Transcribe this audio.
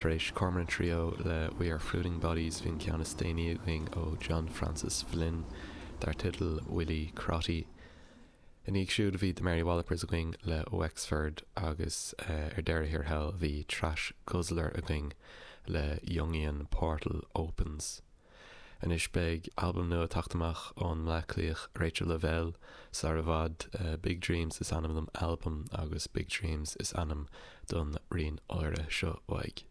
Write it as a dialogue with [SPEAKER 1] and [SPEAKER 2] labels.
[SPEAKER 1] Tar éis Cormorant Trio le We Are Fruiting Bodies bhí an ceann is déanaí againn ó John Francis Flynn dar teideal Willie Crotty. Ina dhiaidh siúd bhí The Mary Wallopers againn le Wexford agus ar deireadh thiar thall bhí Trash Guzzler againn le Jungian Portal Opens. Anois beidh albam nua ag teacht amach ón mBleá Cliathach Rachael Lavelle sar i bhfad. Big Dreams is ainm don albam agus Big Dreams is ainm don rian áirithe seo uaidh.